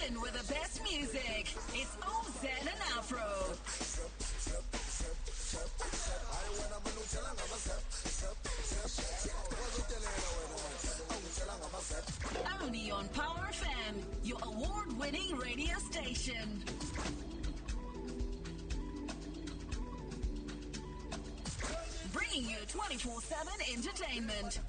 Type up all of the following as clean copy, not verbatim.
Chilling with the best music. It's OZ and Afro. Only on Power FM, your award-winning radio station. Bringing you 24-7 entertainment.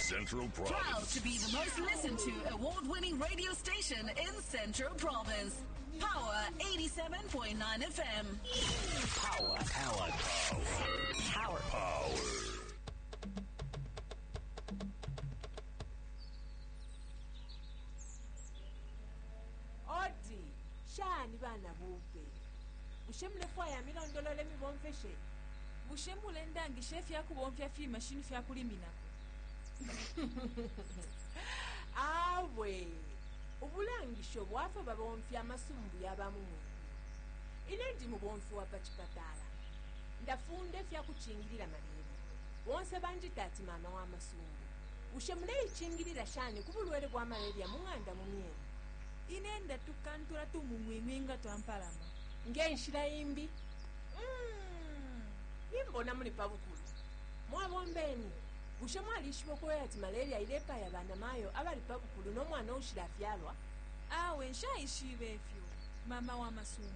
Central Proud Province. to be the most listened to award-winning radio station in Central Province. Power 87.9 FM. Power. Power. Power. Power. Odi, shani bana bupe. Bushe mulefwaya milondolole mibomfeshe? Bushe mulendangisha ifya kubomfya fimashini fya kuliminako? Awe, ubulangisho bwafa babomfya amasumbu yabamu. Ine ndi mubomfi wa pa chipatala. Ndafunda ifya kuchingilila malaria. Bonse banjita ati mama wa masumbu. Bushe muleichingilila shani ku bulwele bwa malaria mu ng'anda mu myenu? Ine ndatukantula tumung'wing'wi nga twampalama. Ngenshila imbi. Nimbona muli pabukulu. Mwabombeni. Bushe mwalishiba ukweba ati malaria ilepaya banamayo abali pabukulu no mwana ushilafyalwa? Awe nshaishibe ifyo, mama wa masumbu.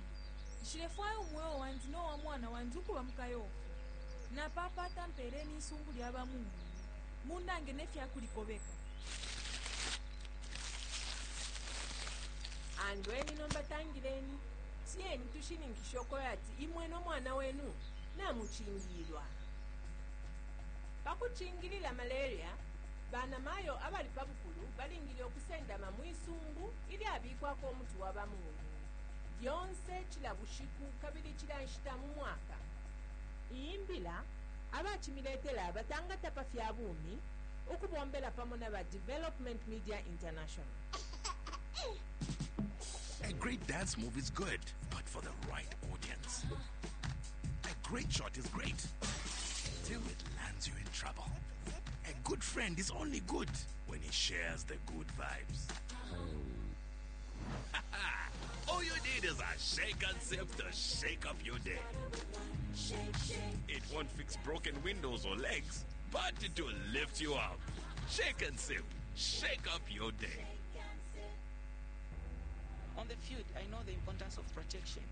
Nshilefwaya umweo wandi no wa mwana wandi ukuba mukayofu. Napapata mpeeleni isumbu lya bamung'wing'wi. Mundange ne fya kulikobeka. Andweni nomba tangileni. Tiyeni tushininkishe ukweba ati imwe no mwana wenu namuchingilwa. Pakuchingilila malaria, banamayo abali pabukulu balingile okusendama mwisumbu ilyabikwako umuti wa bamung'wing'wi. Lyonse cila bushiku kabili cila nshita mu mwaka. Iyi mbila abachimiletela batangata pa fya bumi ukubombela pamo na ba Development Media International. A great dance move is good, but for the right audience. A great shot is great, till it lands you in trouble. A good friend is only good when he shares the good vibes. All you need is a shake and sip to shake up your day. It won't fix broken windows or legs, but it will lift you up. Shake and sip. Shake up your day. On the field, I know the importance of protection.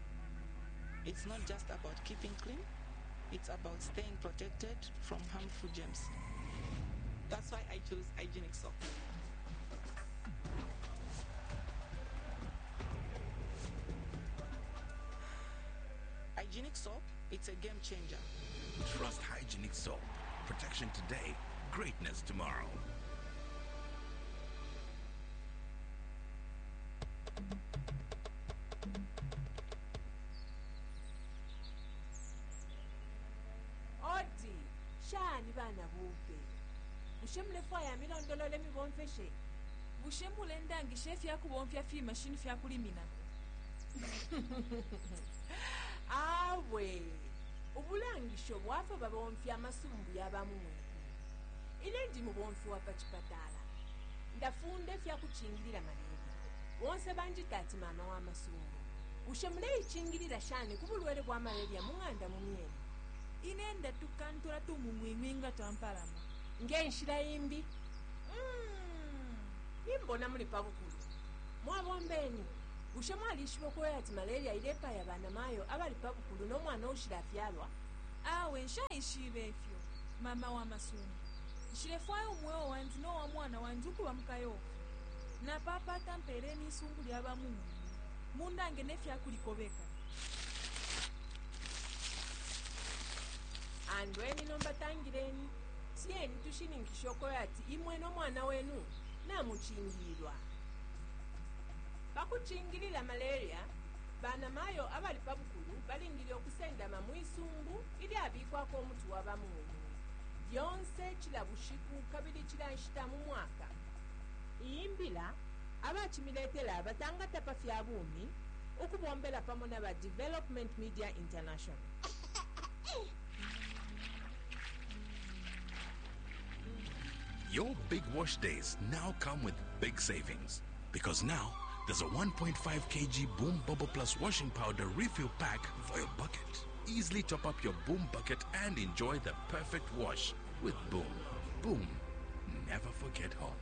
It's not just about keeping clean, it's about staying protected from harmful germs. That's why I chose hygienic soap. Hygienic soap, it's a game changer. Trust Hygienic Soap. Protection today, greatness tomorrow. Odi, shani bana bupe. Bushe mulefwaya milondolole mibomfeshe? Bushe mulendangisha ifya kubomfya fimashini fya kuliminako? Awe, ubulangisho bwafa babomfya amasumbu yabamung'wing'wi. Ine ndi mubomfi wa pa chipatala. Ndafunda ifya kuchingilila malaria. Bonse banjita ati mama wa masumbu. Bushe muleichingilila shani ku bulwele bwa malaria mu ng'anda mu myenu? Ine ndatukantula tumung'wing'wi nga twampalama. Ngenshila imbi. Nimbona muli pabukulu. Mwabombeni. Bushe mwalishiba ukweba ati malaria ilepaya banamayo abali pabukulu no mwana ushilafyalwa? Awe nshaishibe ifyo, mama wa masumbu. Nshilefwaya umweo wandi no wa mwana wandi ukuba mukayofu. Napapata mpeeleni isumbu lya bamung'wing'wi. Mundange ne fya kulikobeka. Andweni nomba tangileni. Tiyeni tushininkishe ukweba ati imwe no mwana wenu namuchingilwa. Pakuchingilila malaria, banamayo abali pabukulu balingile okusendama mwisumbu ilyabikwako umuti wa bamung'wing'wi. Lyonse cila bushiku kabili cila nshita mu mwaka. Iyi mbila abachimiletela batangata pa fya bumi ukubombela pamo na ba Development Media International. Your big wash days now come with big savings. Because now there's a 1.5 kg Boom Bubble Plus washing powder refill pack for your bucket. Easily top up your Boom bucket and enjoy the perfect wash with Boom. Boom. Never forget home.